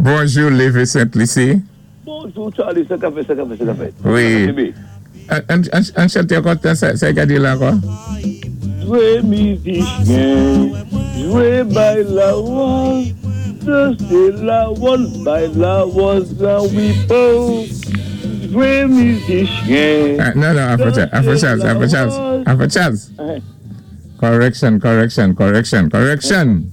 Bonjou, Lévé Sainte-Lucie. Bonjou, Charlie, sa ka fèt, sa ka fèt, sa ka fèt? Wi. Ann chanté ankò, sa y ka di la ankò? Jwé mizisyen, jwé bay lawòz, dansé lawòz, bay lawòz lan wi po. Jwé mizisyen, Non, non, Afro Charles, Afro Charles, Afro Charles, Afro Charles. Correction, correction, correction, correction.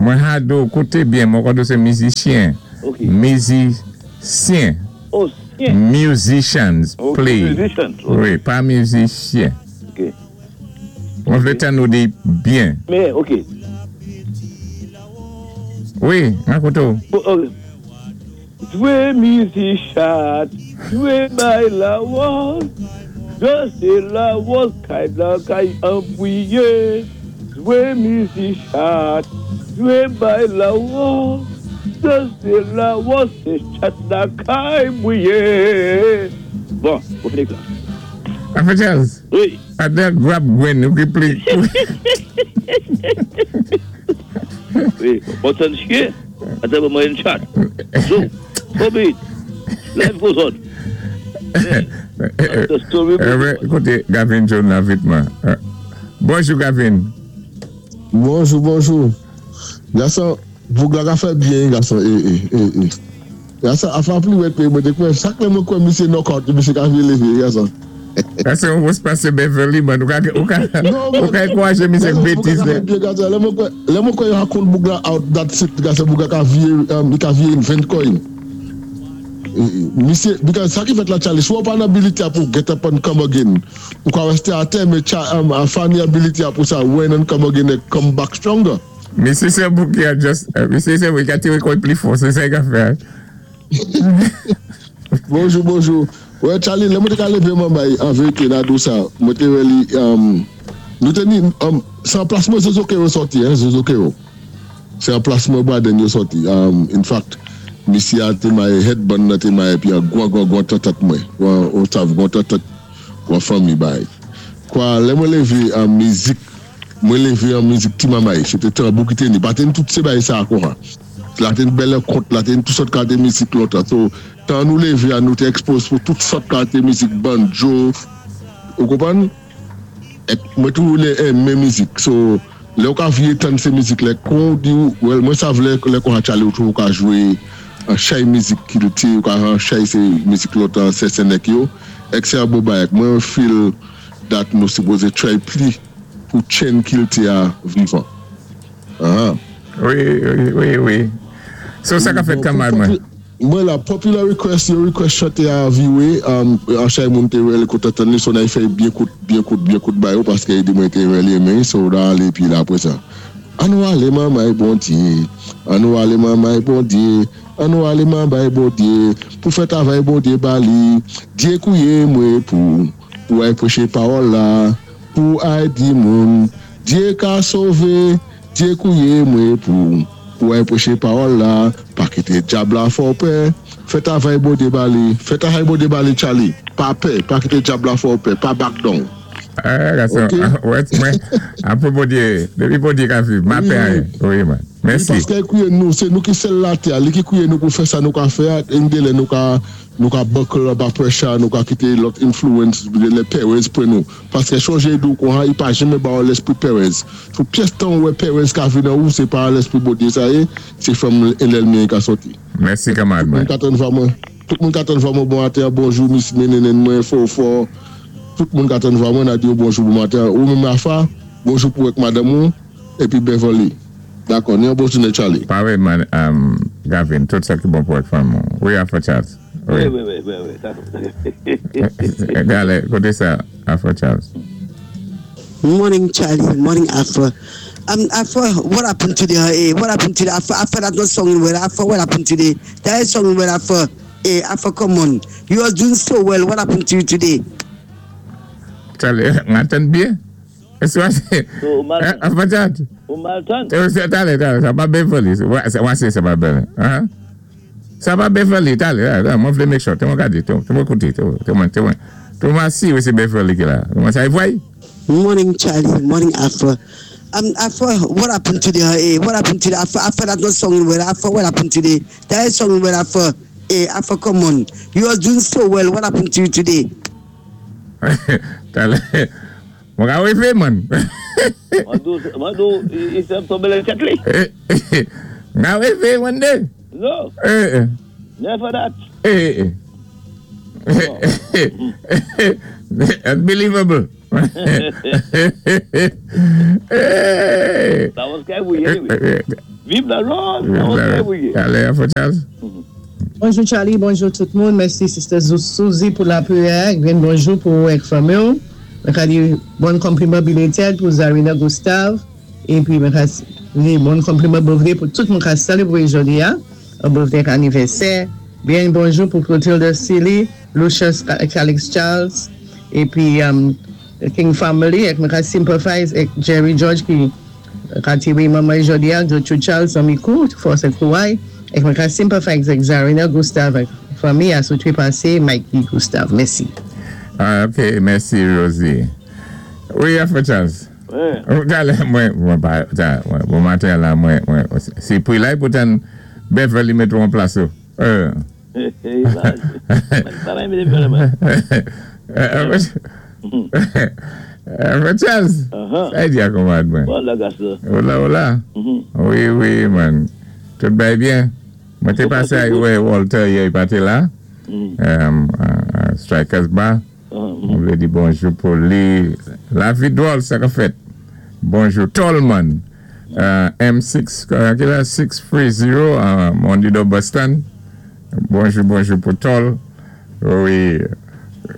Mwen ha do koute byen, mwen kwa do sé mizisyen. Mizisyen. Oh, syen. Musicians play. Musicians. Wi, pa mizisyen. Mwen vlé tann ou di byen. Men, ok. Wi, mwen koute ou. Jwé mizik chat, jwé bay lawòz, dansé lawòz kay la kay anbwiyé. Jwé mizik chat, jwé bay lawòz, dansé lawòz, sé chat la kay bwiyé. Bon, ou fini la. Afro Charles. Wi. Adè grab gwen ou ki pli. Wi, bon tann chyen, atan pou mwen chat. So, so be it. Life goes on. The story Koute, Gavin John la vitman. Bonjou, Gavin. Bonjou, bonjou. Gason, boug la ka fè byen, gason, e, e, e, e. Gason, afa pli wèt pe, mwen te kwè, sak lè mwen kwè misye knockout, misye ka vye leve, gason. Gason, ou pase Beverly, man. Ou ka enkouraje misye betiz. Boug la ka fè byen, gason. Lè mwen kwè yo hakon boug la out, that's it, gason, boug la ka vye, li ka vye invent coin. Misye, because sa ki fèt la, Charlie, sou pa nan ability a pou get up and come again. Ou ka reste atè, men Fani ability a pou sa, when and come again, and come back stronger. Misye se boug ki a just, misye se boug ki a tire koy pli fò, se sa y ka fè. Bonjou, bonjou. Wè, Charlie, lè mwen te ka leve mwen bay, an verite, nan dou sa, mwen te wè li, nou te ni, se an plasman Zozo Kero soti, hein, Zozo Kero. Se an plasman Braden yo soti. In fact, misye a te maye headband nan te maye, pi an gwan gwan gwan tatat mwen. Gwan, ou sav, gwan tatat, gwan fami bay. Kwa, lè mwen leve an mizik, mwen leve an mizik ti mamay, se te tambou ki te ni, pa ten tout se bay sa akon ha. La ten bel kont, la ten tout sort kalite mizik lontan. So, tan nou leve a nou te expose pou tout sort kalite mizik banjo, ou konprann? Ek mwen tou lè men mizik. So, lè ou ka vye tan se mizik lè kon di ou, well, mwen sav lè kon ha chale ou tou ou ka jwe an chay mizik kilti, ou ka an chay se mizik lontan se senek yo, ek se a bo bay. Ek mwen feel that nou sipoze try pli pou chen kilti a vivan. Aha. Wi. So sa ka fèt kamal mwen? Mwen la, popular request, yo request chante a viwe, an chay moun te wè le kote tan li, so nan y fè byen kout, byen kout, byen kout ba yo, paske yi di mwen te wè li men, so da ale pi la apre sa. An nou ale mamay Bondye, an nou ale mamay Bondye, an nou ale mamay Bondye, pou fè travay Bondye bali, Dye kouye mwen pou ay preche pawòl la, pou ay di moun, Dye ka sove, Dye kouye mwen pou ay preche pawòl la, pa kite dyab la fò pè, fè travay Bondye bali, fè travay Bondye bali, Charlie, pa pè, pa kite dyab la fò pè, pa back down. Ah, gason, wè, mwen, apre Bondye, depi Bondye ka viv, ma pè a, wi man. Mèsi. Paske kouye nou, se nou ki sel la te, li ki kouye nou pou fè sa nou ka fè, en de lè nou ka buckle up a pressure, nou ka kite lot influence, lè perez pre nou. Paske chonje dou kon ha, i pa jeme ba ou lespri perez. Sou pyès tan ou wè perez ka vi nan ou, se pa lespri Bondye sa ye, se fèm enlèlmi ka soti. Mèsi kamarad Tout moun mwen. ka tan vwa mwen. Tout moun ka tan vwa mwen bon maten, bonjou Miss Menenen mwen, fò fò. Tout moun ka tan vwa mwen, na di yo bonjou bon maten. Ou menm Afa, bonjou pou ek madame ou, epi Beverly. Dakò, ni yon bonjou net Charlie. Pare man, Gavin, tout sa ki bon pou ek fanm ou. Wi, Afro Charles. Wi, Wi. wi, dakò. Gale, kote sa, Afro Charles. Morning, Charlie. Morning, Afro. Afro, what happened today? Hey, what happened today? Afro, Afro, that's not songing well. Afro, what happened today? That is songing well, Afro. Hey, Afro, come on. You are doing so well. What happened to you today? Charlie, ngatan bien? Esi wase, So, ou mal, Afro Charles. Ou mal tan? Tale, tale, sa pa Beverly. Wase sa pa Beverly. Ha? Sa pa Beverly, tale, tale, mwen vle make sure. Te mwen gade, te mwen koute, te mwen si wè se Beverly ki la. Mwen sa y vway? Morning, Charlie. Morning, Afro. Afro, what happened to the hey, what happened to the Afro, Afro that not song well. Afro, what happened today? That is song well, Afro. Hey, Afro, come on. You are doing so well. What happened to you today? Talè, mwen ka wé fé man. Mwen dou, i sèm tonbé lan tèt li. Mwen ka wé fé man dé. No. Never that. Unbelievable. That was kay bouyi anyway. Viv la rose, that was kay bouyi. Talè, Afro Charles. Bonjou Charlie, bonjou tout moun. Mèsi Sister Suzy pou lapriyè. Grenn bonjou pou ou ak fanmi w. Mwen ka di bon konpliman belated pou Zarina Gustave epi mwen ka di bon konpliman birthday pou tout moun ka selebre jodi a, birthday ak anivèsè. Byen bonjou pou Clotilde Sealy, Lucius Calix Charles epi King Family ak mwen ka sympathize ak Jerry George ki Kati wi manman jodi a Gertrude Charles zanmi kou fòs ak kouray ek mwen ka sympathize ak Zarina Gustave ak fanmi a sou trepase Mikey Gustave mèsi. Ah ok mèsi Rosie. Wi Afro Charles. Talè mwen mwen pa ta bon maten an la mwen mwen se pri la pou tann Beverly mete w an plas ou. Charles, sa y di a konmad mwen? Hola hola Wi wi man Tout bay byen Mwen té pasé ay wè Walter yè y pa té la Strikers Bar Mwen vlé di bonjou pou li Lavi dwòl sa ka fèt Bonjou Tolman M6 ki la 630 Mondido Bus Stand Bonjou bonjou pou Tol Wi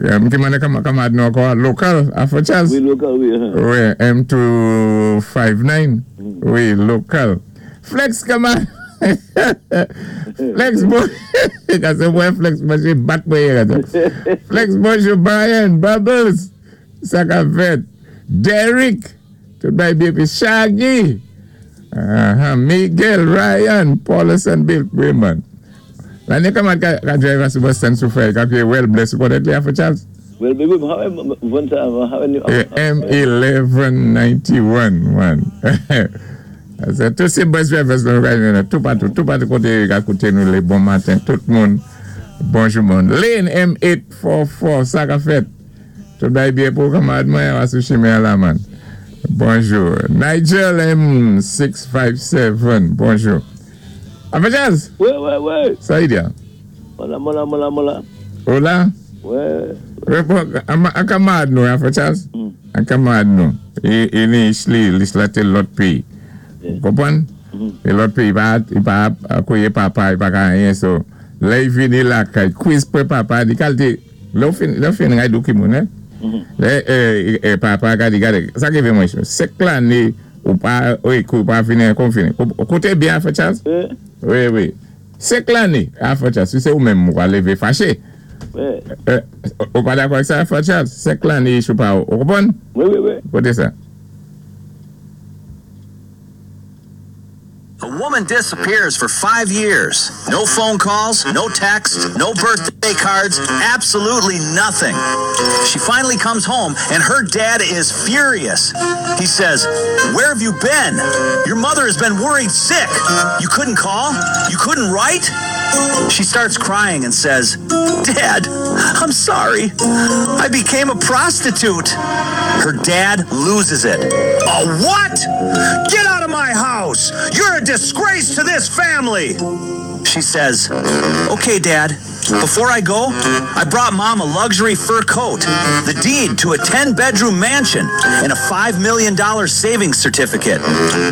M ki mande kanmad nou ankò a Lokal Afro Charles Wi lokal wi Wi M259 Wi lokal Flex kanmad Flex bon Kase mwen Flex manje bat mwen yè Flex bonjou Brian Bubbles Sa kap fèt Derrick Tout bagay byen pi Shaggy Ahaa Miguel Ryan Paulison Bill Raymond Lane kòman ka drive a sou bus stand sou fèy kap ye well bless ou konnen li Afro Charles? Well baby m hawe vann sa m hawe ni. M1191 man Se tout se bus drivers nou ka jwenn nan toupatou toupatou kote yo ka koute nou le bon maten tout moun bonjou moun Lane M844 sa kap fèt? Tout bagay byen pou ou kanmarad mwen wa sou chimen an la man. Bonjou. Nigel M 657 bonjou. Apa Jazz? Wi wi wi. Sa li di a? Mwen la mwen la mwen la mwen la. Ou la? Wi. An kanmarad nou Afro Jazz? An kanmarad nou. E ni Isli, Isla te lòt peyi. Ou konprann? E lòt peyi li pa koye papa, li pa ka anyen so lè li vini lakay kwiz pre papa li kalte Lè ou fin, lè ou fin ride ou ki moun hein. Lè papa gade gade sa ki rive mwen 5 lane ou pa ekri ou pa vini ankò ou fini. Ou koute byen afè Charles? Wi wi. 5 lane afè Charles si se ou menm ou ka leve fache. Ou pa dakò ak sa afè Charles? 5 lane sou pa ou konprann? Wi wi wi. Koute sa. A woman disappears for 5 years. No phone calls, no texts, no birthday cards, absolutely nothing. She finally comes home and her dad is furious. He says, "Where have you been? Your mother has been worried sick. You couldn't call? You couldn't write?" She starts crying and says, "Dad, I'm sorry. I became a prostitute." Her dad loses it. "A what? Get out of my house! You're a disgrace to this family!" She says, "Okay, Dad. Before I go, I brought Mom a luxury fur coat, the deed to a 10-bedroom mansion, and a $5 million savings certificate.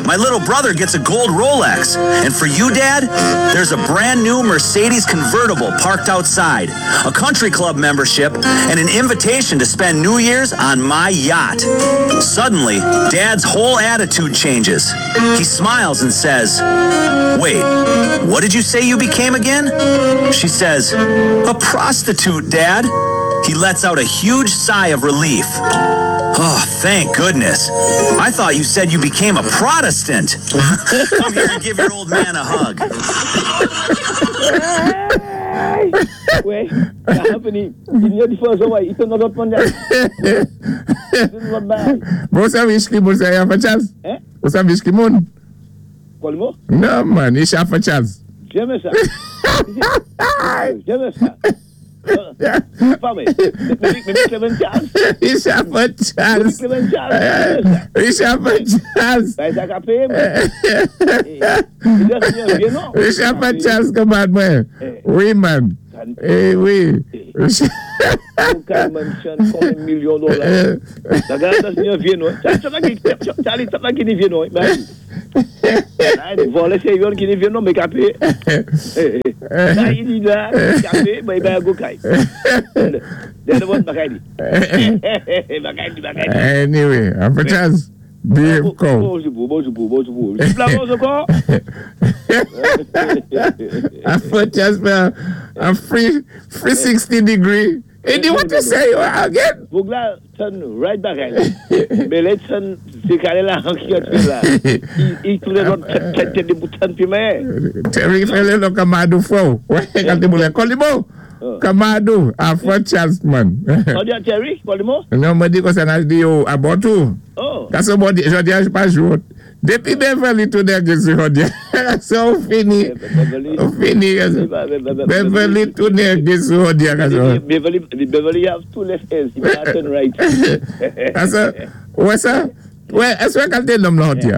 My little brother gets a gold Rolex. And for you, Dad, there's a brand new Mercedes convertible parked outside, a country club membership, and an invitation to spend New Year's on my yacht." Suddenly, Dad's whole attitude changes. He smiles and says, "Wait, what did you say you became again?" She says, "A prostitute, Dad." He lets out a huge sigh of relief. "Oh, thank goodness. I thought you said you became a Protestant. Come here and give your old man a hug." Wè, sa happening. Il y a différence, ouais. Il te l'autre monde. Bon, sa ki moun sa Alpha Charles? Hein? Ou savi ki moun? Kolmo? Non, man, il Alpha Charles. Jamais ça. Jamais ça. Pas mais. Mais Clement Charles. Il Alpha Charles. Clement Charles. Il Alpha Charles. Ben, ça a payé, mais. Il doit bien, non? Il Alpha Charles, come man. Oui, man. Eh oui. Ou ka mention combien de millions de dollars. La garde, c'est un vieux, non? Charlie, ça va qui est vieux, non? Volé, c'est yon qui est vieux, non, mais capé. Là, il dit là, capé, mais il va go kay. Derrière le bagay di. Bagay di, bagay di. Anyway, Alpha Charles, behave come. Bonjou, bonjou, bonjou. Tu plafonds encore? Alpha Charles, man, a free 360 degree. And you what to say again? Bougla turn right back. Mais les turn, c'est qu'elle est là, qui a tué là. Il tourne l'autre tête de bouton puis mais. Terry fele lo kamado fo. Ouais, quand tu voulais Kolimo. Kamado, Alpha Charles, man. On dit à Terry, Kolimo? Non, moi dis que ça n'a dit yo à bon tout. Oh. Quand c'est bon, je dis je pas jouer. Depuis Beverly tout d'un que c'est dit. C'est fini. On fini. Beverly tout d'un que c'est dit. Beverly, Beverly have two left hands. He can turn right. Ça, ouais ça. Ouais, est-ce que quand l'homme là dit?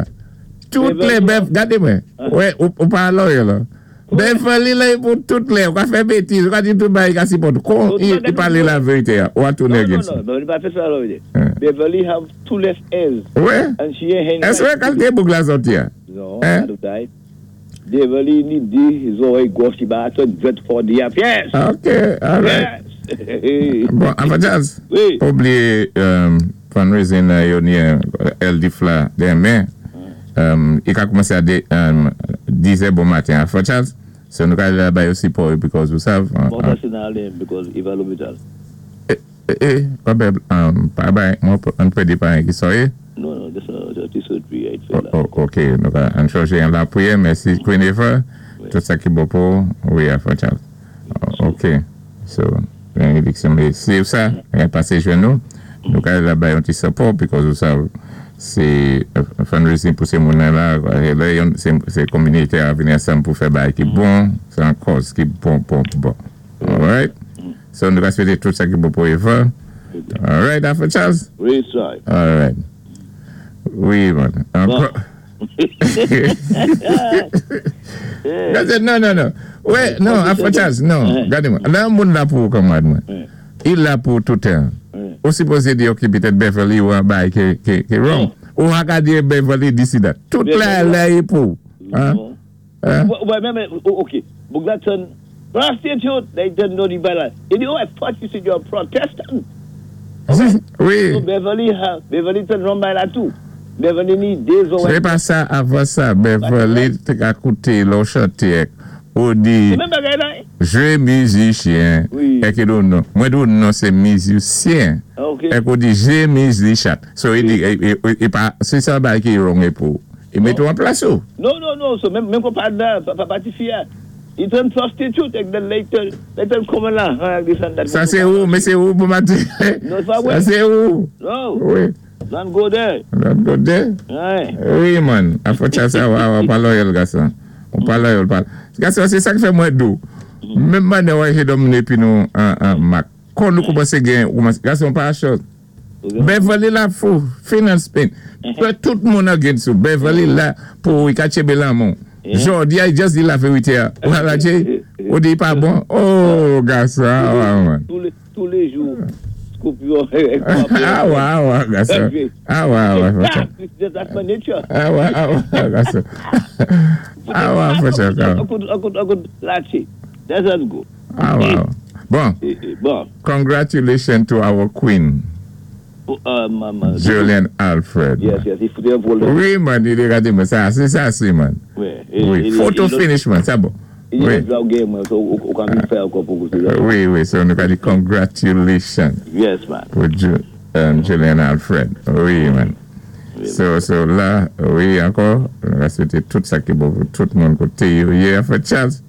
Toutes les bœufs, regardez-moi. Ouais, ou pas là là. Beverly là pour toutes les, on va faire bêtise, on va dire tout bas, il va Con, il parle la vérité, on va tourner Non, non, non, Beverly pas fait ça là. Beverly have two left hands. Ouais. And she ain't Est-ce que quand t'es boucle la sortie? Non, pas Beverly need des oreilles gauche, il va attendre droite for the yes. OK, all right. Bon, enfin, Jazz. Oui. Pas oublier fundraising yo ni LD Fla demain. Il a commencé à 10h bon matin. Alpha Charles, so nous allons là-bas aussi pour because vous savez. Bon, ça c'est dans l'air because il va à l'hôpital. Eh, pas pas moi on peut dire pas qui soit. Non, non, c'est surgery. Oh, OK, nous allons changer la prière, merci Queen Eva. Tout ça qui est beau pour, oui, Alpha Charles. OK. So, bénédiction, mais c'est ça, on va passer chez nous. Nous allons là-bas un petit support because vous savez c'est fundraising pour ces gens-là, c'est communauté à venir ensemble pour faire bail qui est bon, c'est une cause qui est bon, bon, bon. All right? So, nous allons souhaiter tout ça qui est bon pour Eva. All right, Alpha Charles? Oui, sir. All right. Oui, man. Encore. Non, non, non. Ouais, non, Alpha Charles, non. Regardez-moi. Là, on là pour, comme moi. Il là pour tout le temps. Ou supposé dire que peut-être Beverly ou un bail qui est wrong. Ou on dire Beverly d'ici là. Tout là, là, est pour. Hein? Ouais, même, OK. Bougla turn prostitute, they don't know the balance. Il dit, oh, I thought you said you're a Protestant. Oui. So Beverly, Beverly turn wrong by là tout. Beverly need des oreilles. C'est pas ça, avant ça, Beverly t'a écouté, l'on chanté. Ou dit, je musicien. Et que non, moi, non, c'est musicien. Et qu'on dit, je musicien. So, il dit, et pas, c'est ça qui est wrong pour. Il met tout en place. Non, non, non, so, même qu'on parle là, papa, tu fille, il turn prostitute, et then later, later, come là. Ça, c'est où? Mais c'est où pour ma Non, ça, c'est où? Non. Oui. Don't go there. Don't go there? Oui, man. A faut ça, on parle loyal, garçon. On parle loyal, parle. Garçon, c'est ça qui fait moins doux. Même maintenant, on est dominé puis nous, en Mac. Quand nous commençons à gagner, garçon, pas chose. Beverly là, fou, finance pain. Tout le monde a gagné sous. Beverly là, pour y cacher Belamon. Jordi, il just dit la vérité. Voilà, on dit pas bon. Oh, garçon, ah, ouais, Tous les jours. Scorpion. Ah ouais, garçon. Ah ouais. That's my nature. Ah ouais, garçon. Ah ouais, faut ça. I could lâcher. That's how it go. Ah ouais. Bon. Bon. Congratulations to our queen. Julian Alfred. Yes, il faut un vol. Oui, man, il est regardé, mais ça, c'est ça, c'est, man. Oui. Photo finish, man, c'est bon. Oui. Oui, so nous avons dit congratulations. Yes, man. Pour Julian Alfred. Oui, man. So là, oui, encore, on va souhaiter tout ça qui est bon pour tout le monde côté. Yeah, for Charles.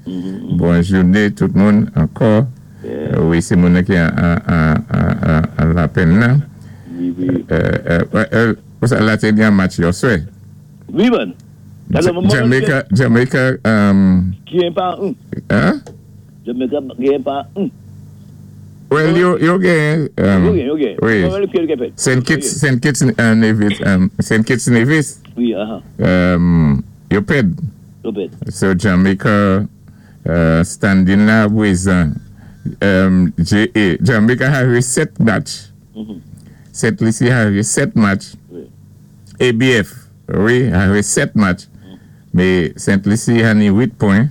Bon jouné tout moun ankò. Wi, sé moun ki an lapenn nan. Wi. La té gen match yèswè. Wi, man. Jamaica, Jamaica. Genyen pa 1. Hein? Jamaica genyen pa 1. Well, yo genyen. Yo genyen, yo genyen. Wi. Saint Kitts, Saint Kitts Nevis, Saint Kitts Nevis. Wi, aha. Yo pèd. Yo pèd. So Jamaica standing la pwézan JA. Jamaica have 7 match. Saint Lucie have 7 match. ABF, wi, have 7 match. Mé Saint Lucie a ni 8 pwen.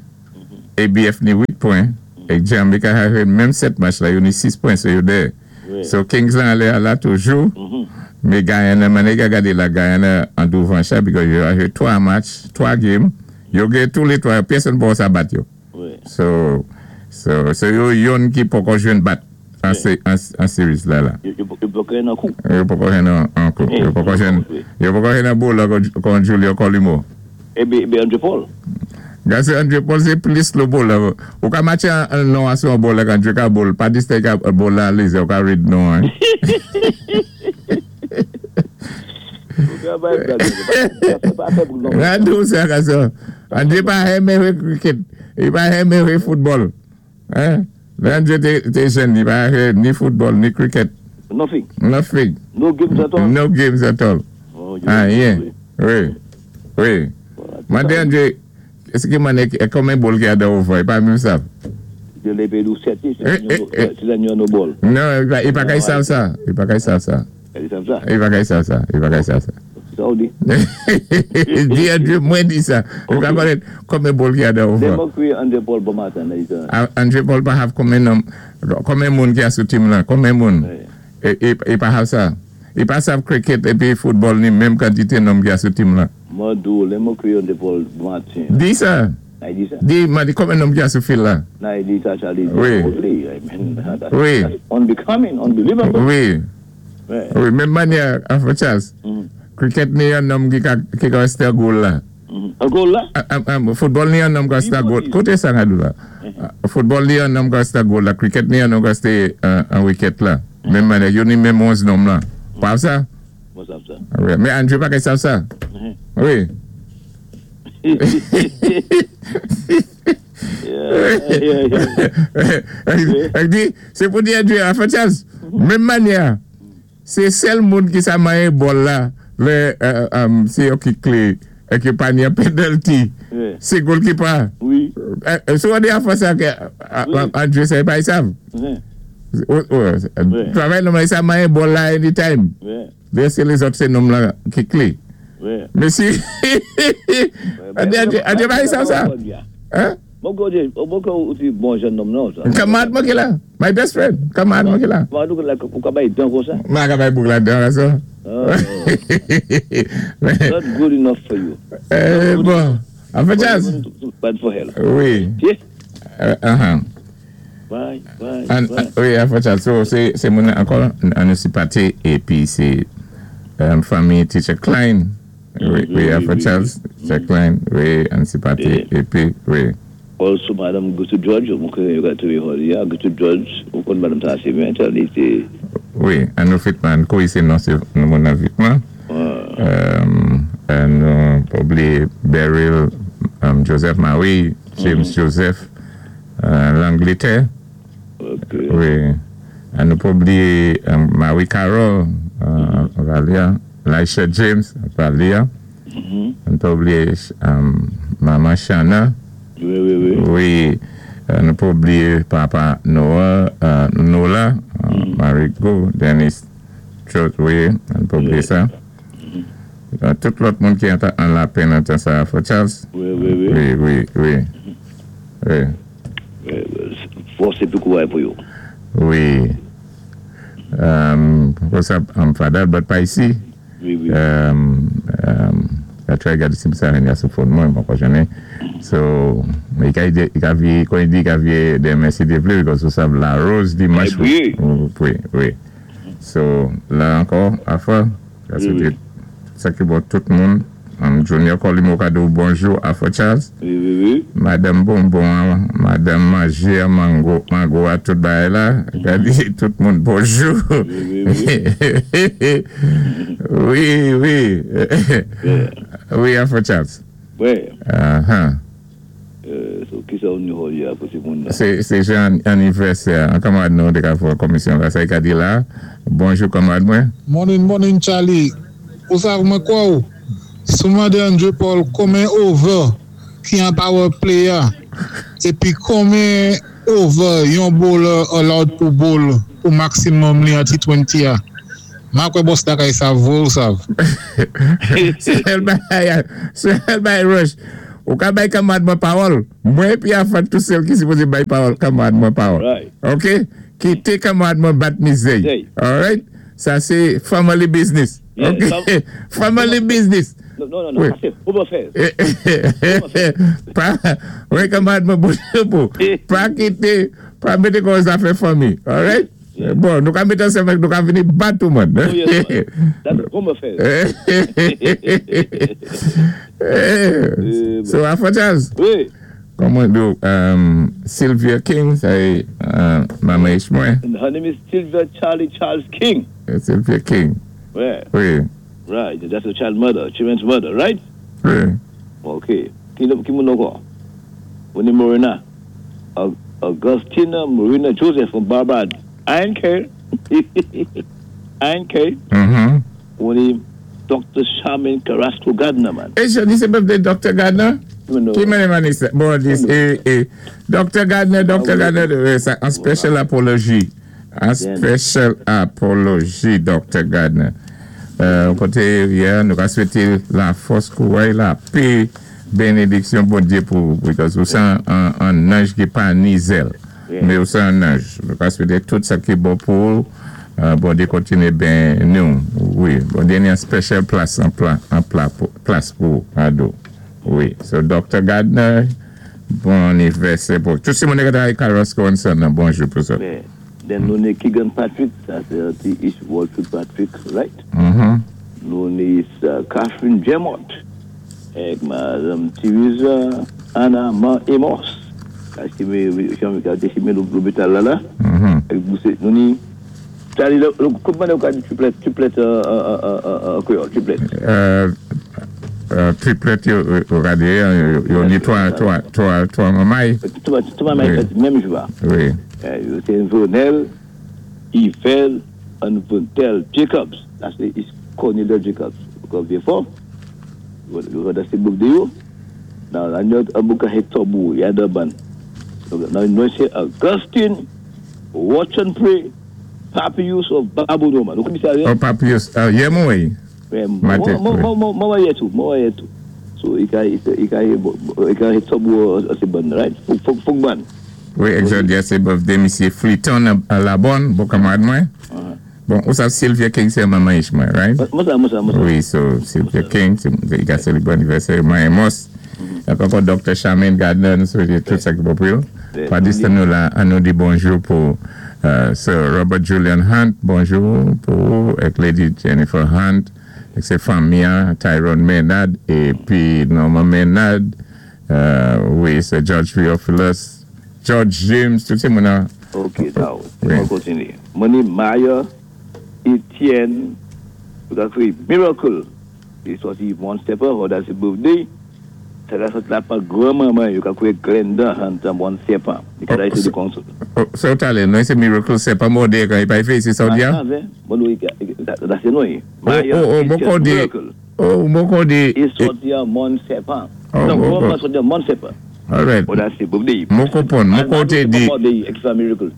ABF ni 8 pwen. É Jamaica have menm 7 match la, yo ni 6 pwen, so yo dèyè. So Kings lan anlè a la toujou. Mé Guyana, mannyè ka gadé la, Guyana an douvan cha because yo have 3 match, 3 game. Yo gen tou lé 3, pèsonn pa sa bat yo. So yo youn ki poko jwenn bat an series la la. Yo poko jwenn an kou. Yo poko jwenn an kou. Yo poko jwenn, yo poko jwenn an bowler kon Julio Colimo. Ébé Andre Paul. Gase Andre Paul sé plis slow bowler. Ou ka matché an non an sou an bowler k Andre ka bowl. Pa distè ka bowl la lizè, ou ka read non an. Ou ka bay blag. Pa fè blag non. Radou sa ka sa. Andre pa renmen wè cricket. Li pa renmen wè football. Hein? Lè Andre té jèn, li pa wè ni football, ni cricket. Nothing. Nothing. No games at all? No games at all. Anyen. Wi. Wi. Mandé Andre, èské mannyè, konbyen ball ki a dan over? Li pa menm sav. Yo lè pédou 7, sé lè no ball. Non, li pa kay sav sa. Li pa kay sav sa. Li sav sa? Li pa kay sav sa. Li pa kay sav sa. Sa ou di? Di Andre, mwen di sa. Li pa konnen konbyen ball ki a dan over. Lè mwen kwé Andre Paul bon maten. Andre Paul pa have konbyen nonm, konbyen moun ki a sou team lan, konbyen moun. E pa have sa. Li pa sav cricket épi football ni menm kantité nonm ki a sou team lan. Mwen di ou, lè mwen kwé Andre Paul bon maten. Di sa. Nan di sa. Di, mwen di konbyen nonm ki a sou field la. Nan di sa, Charlie. Wi. Wi. Unbecoming, unbelievable. Wi. Wi, menm mannyè Afro Charles. Cricket ni yon nonm ki ka ki ka restè goal la. An goal la? Football ni yon nonm ka restè goal. Koté sa nga dou la? Football ni yon nonm ka restè goal la. Cricket ni yon nonm ka restè an wicket la. Menm mannyè, yo ni menm 11 nonm la. Pa sa? Mwen sav sa. Wi, mé Andre pa kay sav sa. Wi. Di, sé pou di Andre, Afro Charles, menm mannyè, sé sèl moun ki sa manyen ball la, lè sé yo ki klé, é ki pa ni an penalty, sé goalkeeper. Wi. Sou an di Afro sa ke Andre sa pa y sav. Travay nonm la, li sa manyen ball la anytime. Lè sé lézòt sé nonm la ki klé. Mèsi. Andre pa y sav sa? Hein? Mwen kwè mwen kwè ou ti bon jèn nonm nan sa. Kamarad mwen ki la. My best friend. Kamarad mwen ki la. Ou ka bay dan kon sa? Mwen ka bay bouk la dan sa. Not good enough for you. Bon. Afro Charles. Bad for hell. Wi. Bye, bye, bye. Wi, Afro Charles. So, sé moun ankò an nou sipaté épi sé fanmi Teacher Klein. Wi, Afro Charles, Teacher Klein, wi, an sipaté épi, wi. Also, Madam Gertrude George, mwen kwè yo ka twouvé holi a, Gertrude George, ou konn madam sa asé byen, Charlie sé. Wi, an nou vitman, an kouri sé non sé moun nan vitman. An nou pa blié Beryl Joseph Marie, James Joseph, Langlétè. Wi, an nou pa blié Marie Carol, Valia, Laisha James, Valia. An pa blié Maman Shana. Wi, wi, wi. Wi, nou pa blié Papa Noah, Nola, Marigo, Dennis Trot, wi, an pa blié sa. Tout lòt moun ki an lapenn an tan sa, Afro Charles. Wi, wi, wi. Wi, wi, wi. Wi. Fòs épi kouray pou yo. Wi. What's up, Fadal, but pa isi. Wi, wi. I try gade si sa ren ya sou phone mwen, mwen pa konnen. So, i ka i ka vie, kon i di i ka vie demen si Dye vle, because ou sav la rose dimanche. Wi. Wi, wi. So, la ankò, Afro, sa se te sa ki bon tout moun. Junior Colimo ka di bonjou Afro Charles. Wi, wi, wi. Madanm Bonbon, Madanm Manje, Mango, Mango a tout bagay la. Ka di tout moun bonjou. Wi. Wi, Afro Charles. Wi. So, ki sa ou ni a pou ti moun la? Sé jan anivèsè, an kanmarad nou té ka fè komisyon la, sa i ka di la. Bonjou kanmarad mwen. Morning, morning, Charlie. Ou sav mwen kwa ou? Sou mandé Andre Paul konmen over ki an power play a épi konmen over yon bowler allowed pou bowl pou maximum li an T20 a. Ma kwè boss lakay sav vwé ou sav. Sèl bagay, sèl bagay Rush. Ou ka bay kanmarad mwen pawòl. Mwen épi Afan tou sèl ki siwozé bay pawòl kanmarad mwen pawòl. OK? Kité kanmarad mwen bat mizè. All right? Sa sé family business. OK? Family business. Non, non, non, sa sé home affairs. Pa, wi kanmarad mwen bonjou pou. Pa kité, pa mété kò zafè fanmi. All right? Bon, nou ka mété ansanm nou ka vini bat tout moun. Oh, yes, man. That's home affairs. So, Afro Charles. Wi. Kòman do Sylvia King, sa é manman mwen. And her name is Sylvia Charlie Charles King. Sylvia King. Wi. Right, that's the child mother, children's mother, right? Wi. OK. Ki moun ankò? Oni Morena. Augustina Marina Joseph from Barbados. I N K. I N K. Oni Dr. Charmaine Carrasco Gardner, man. É jòdi sé birthday Dr. Gardner? No. Ki many many bon this Dr. Gardner, Dr. Gardner, sa an special apology. An special apology Dr. Gardner. Koté yeah, nou ka swété la fòs kouray, lapè, bénédiksyon Bondyé pou because ou sé an anj ki pa ni zèl. Mé ou sé an anj. Nou ka swété tout sa ki bon pou Bondyé kontiné béni nou. Wi, Bondyé ni an special plas an plas pou ado. Wi. So Dr. Gardner, bon anivèsè pou tout moun ki travay Carrasco and Son, bonjou pou sa. Then nou ni Keegan Patrick, sa sé ti East Walford Patrick, right? Nou ni Catherine Jemot, avèk Madanm Teresa Anna Ma Amos, ki té lopital la la. Avèk nou ni Charlie, kòman ou ka di triplet, triplet an kwéyòl, triplet? Triplet yo, gadé, yo ni twa, twa, twa, twa manmay. Twa manmay fèt menm jou. Wi. Sé Vonel, Yvel, and Vontel Jacobs. That's the is Cornelia Jacobs. Because fò. That's the birthday yo. Now, I know Abuka Hector Yadaban. Now, nou sé Augustine, Watch and Pray, Papius of Babonneau, man. Ou konn sa? Oh, Papius, yeah, mwen. Mwen yé tou, mwen yé tou. So, i ka Hector sé bon, right? Fok ban. Wi, jòdi sé birthday Misye Fleeton a la bonne, bon kanmarad mwen. Bon, ou sa Sylvia King sé manman mwen, right? Mwen sa, mwen sa, mwen sa. Wi, so Sylvia King, i ka sélébré anivèsè mwen Amos. Ankò Dr. Charmaine Gardner, nou swété tout sa ki bon pou yo. Pandan nou la, an nou di bonjou pou Sir Robert Julian Hunt, bonjou pou avèk Lady Jennifer Hunt, avèk sé fanmi, Tyrone Maynard, épi Norman Maynard, wi, sé George Theophilus, George James, tout sé moun. OK, now, on kontiné. Moni Maya, Etienne, tout a fait Miracle. I sòti One Stepper, oh, that's his birthday. Sa la sòti la pa granmanman, yo ka kwé Glenda Hunt One Stepper. I ka di council. Oh, so talè, non, sé Miracle, sé pa mòdé kan i pa fè, sé sa ou di? Ah, bon, wi, sa sé non. Oh, bon kòdé. Oh, bon kòdé. I sòti an One Stepper. Non, granmanman sòti an One Stepper. All right. Oh, that's his birthday. Mwen konpwann, mwen koté di,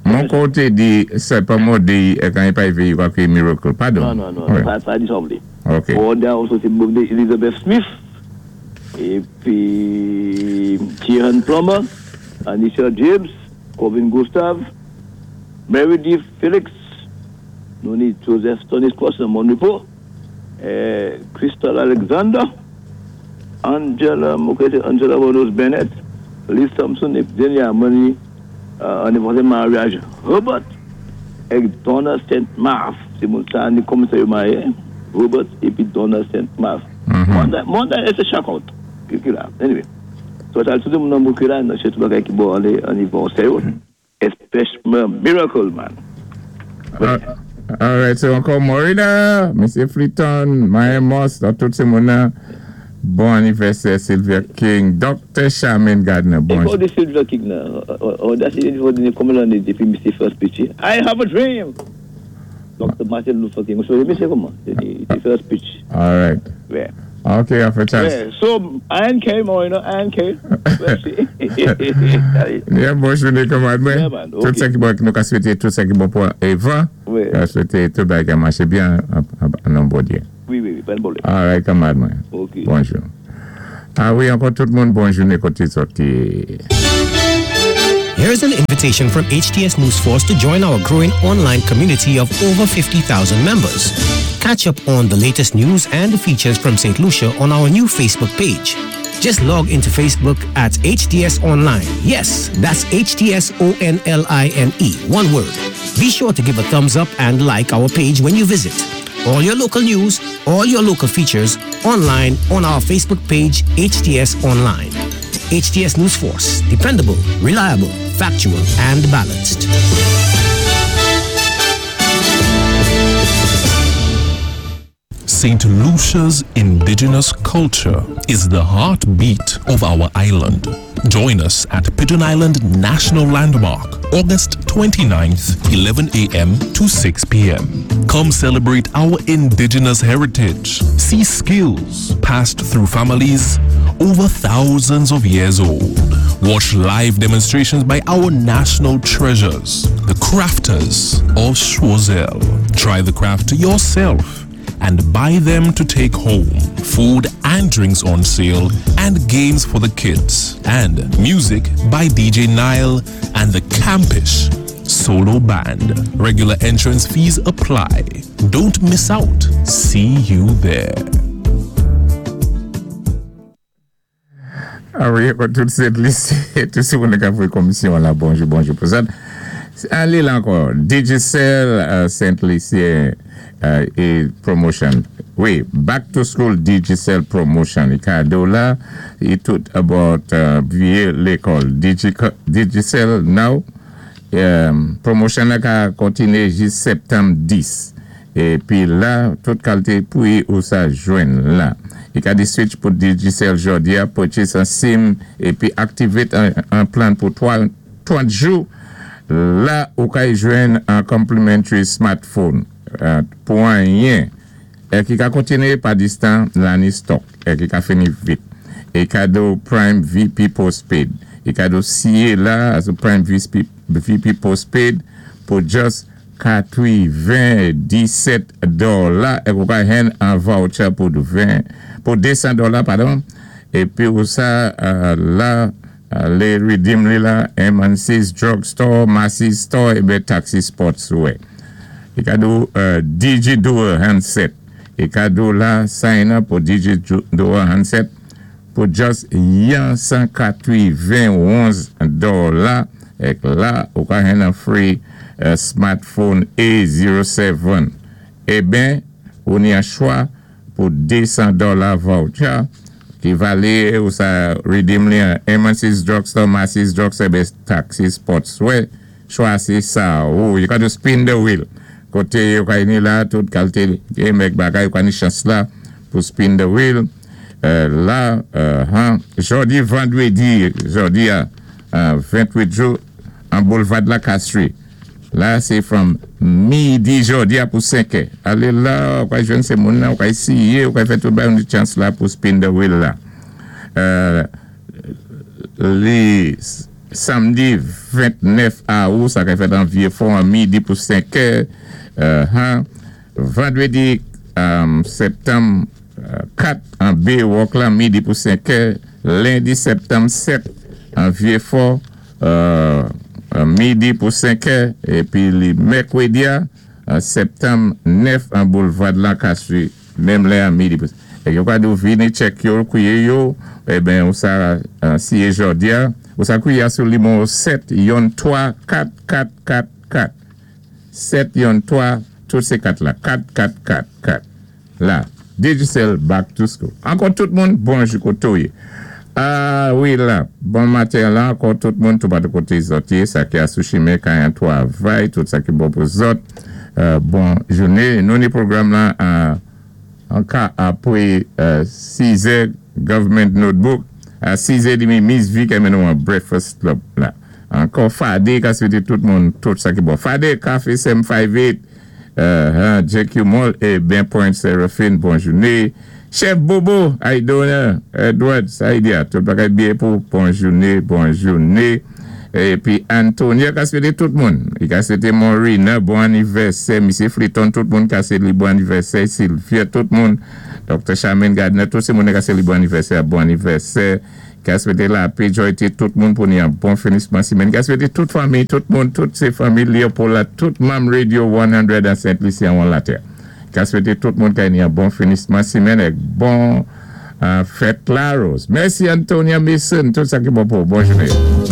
mwen koté di, sé pa mòdé kan i pa fè, i ka kwé Miracle. Padon. Non, non, non, pa di sa ou vlé. OK. Bon, then also c'est birthday Elizabeth Smith. Épi Kieran Plummer, Anisha James, Corbin Gustave, Mary D. Felix, nou ni Joseph Tony Cross nan Mon Repos, Crystal Alexander, Angela, ok, Angela Reynolds Bennett, Liz Thompson, épi dènyèman ni anivèsè maryaj Herbert avèk Donna St. Marth. Sé moun sa ni kòman sa yo maryé? Herbert épi Donna St. Marth. Monday, it's a shock out. Ki la. Anyway. So, sa tout moun nan ki la, sé tout bagay ki bon alé an nivo sèyo. Especially Miracle Man. All right, so ankò Morina, Mesye Fleeton, Maya Moss, tout sé moun bon anivèsè Sylvia King, Dr. Charmaine Gardner, bon. E de Sylvia King nan, on a konbyen lanné depi Mr. First speech? I have a dream! Dr. Martin Luther King. So, mesye kouman? The first speech. All right. Yeah. Ok, afè Charles. Yeah, so, INK, Morina, INK. Mèsi. Yeah, bon jounen, kanmarad mwen. Yeah, man, Tout ok. sa ki bon, nou ka swété tout sa ki bon pou Eva. Wi. Ka swété tout bagay maché byen an non Bondyé. Wi, pa pwoblèm. All right, kanmarad mwen. Ok. Bonjou. A wi, ankò tout moun, bon jounen koté sòti. Here's an invitation from HTS News Force to join our growing online community of over 50,000 members. Catch up on the latest news and features from St. Lucia on our new Facebook page. Just log into Facebook at HTS Online. Yes, that's HTS O N L I N E, one word. Be sure to give a thumbs up and like our page when you visit. All your local news, all your local features online on our Facebook page, HTS Online. HTS News Force, dependable, reliable, factual, and balanced. St. Lucia's indigenous culture is the heartbeat of our island. Join us at Pigeon Island National Landmark, August 29th, 11 a.m. to 6 p.m. Come celebrate our indigenous heritage. See skills passed through families over thousands of years old. Watch live demonstrations by our national treasures, the crafters of Choiseul. Try the craft yourself and buy them to take home. Food and drinks on sale and games for the kids. And music by DJ Nile and the Campish Solo Band. Regular entrance fees apply. Don't miss out. See you there. A wi, tout Sent Lisi, tout sé moun ka fè komisyon la, bonjou, bonjou pou sa. Alé la ankò, Digicel Saint Lucie é promotion. Wi, back to school Digicel promotion. É kado la, é tout about vyé lékòl. Digicel now, promotion la ka kontiné jis septanm 10. Épi la, tout kalité pri ou sa jwenn la. I ka di switch pou Digicel jòdi a, purchase an SIM épi activate an plan pou 3, 30 jou. La, ou ka jwenn an complimentary smartphone pou anyen. É ki ka kontiné pa distan la ni stock. É ki ka fini vit. É kado Prime VP Postpaid. É kado siye la, aso Prime VP, VP Postpaid pou just 97 dola é ou ka jwenn an voucher pou 20, pou 200 dola, padon. Épi ou sa la, alé redeem li la, M&C's Drugstore, Macy's Store, é Taxi Sportswear. É kado DJ Duo Handset. É kado la, sign up pou DJ Duo Handset pou just 191 dola. É la, ou ka jwenn an free smartphone A07. Eben, ou ni an chwa pou 200 dola voucher ki valé ou sa redeem li an M&C's Drugstore, Macy's Drugstore, be Taxi Sportswear. Chwazi sa ou. You got to spin the wheel. Koté yo ka ni la, tout kalité game ek bagay, yo ka ni chans la pou spin the wheel. La, han, jòdi vandrédi, jòdi a 28 jou, an Boulevard la Castries. La, sé from midi jòdi a pou 5 è. Alé la, ou ka jwenn sé moun la, ou ka ésyé, ou ka fè tout bagay, yon chans la pou spin the wheel la. Li samdi 29 awou, sa ka fèt an Vieux-Fort an midi pou 5 è. Han, vandrédi septanm 4 an Baywalk la, midi pou 5 è. Lendi septanm 7 an Vieux-Fort, midi pou 5 è. Épi li mèkwédi septanm 9 an Boulevard Lancastrie, menm lè a midi pou. É yo ka dou vini check yo, kwié yo, eben ou sa siye jòdi a, ou sa kwié sou nimewo 7 yon 3 4 4 4 4. 7 yon 3, tout sé 4 la, 4 4 4 4. La. Digicel Back to School. Ankò tout moun, bonjou koté ou yé. Ah wi la, bon maten la ankò tout moun toupatou koté zòt yé, sa ki asou chimen kay an twavay, tout sa ki bon pou zòt, bon jouné. Nou ni pwogram la an ka apwé 6 zè Government Notebook, a 6 zè demi Miss V ka mennen ou an Breakfast Club la. Ankò Fade ka swété tout moun tout sa ki bon. Fade, Café Sem 58. JQ Mall e Ben Point Seraphine bon joune Chef Bobo Aidona Edward Saidia tout bagay byen pou bon joune bon joune epi Antonia ka swete tout moun li ka swete Morina bon anivèsè Misye Fliton tout moun ka swete li bon anivèsè Sylvia tout moun Docteur Charmaine Gardner tout se moun ka swete li bon anivèsè bon anivèsè. Ka swete lapé joyte tout moun pou ni yon bon finisman simèn. Ka swete tout fanmi, tout moun, tout se fanmi Leopold la, tout manm Radio 100 an Sent Lisi anwon latè. Ka swete tout moun kay ni yon bon finisman simèn èk bon fèt Larose. Mèsi Antonia Mason, tout sa ki bon pou ou. Bon jounen.